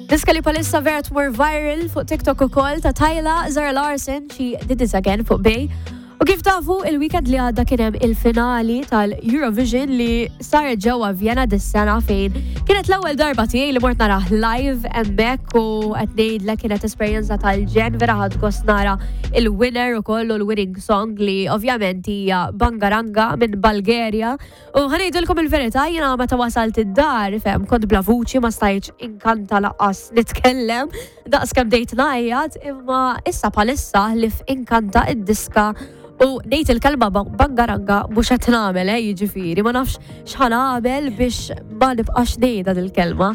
Diska li palissa vera tmur viral fuq TikTok ukoll ta' Tyla Zara Larson xi did it again fuq Bay. U kif tafu, il-weekend li għadda kien hemm il-finali tal-Eurovision li saret ġewwa Vienna dis-sena fejn kienet l-ewwel darba tiegħi li mort narah live hemmhekk u qed ngħidlek kienet esperjenza tal-ġen vera ħadd gost nara il-winner ukoll u l-winning song li ovvjament hija Bangaranga minn Bulgaria. U ħa ngħidilkom il-verità, jiena meta wasalt id-dar, fem, kont bla vuċi ma stajtx inkanta laqqas nitkellem, daqs kemm bdejt ngħajjat, imma issa bħalissa ħlief inkanta id-diska u ngħid il-kelma bangaranga mhux qed nagħmel, eh, jiġifieri, ma nafx x'ħa nagħmel biex ma nibqax ngħidha dil-kelma.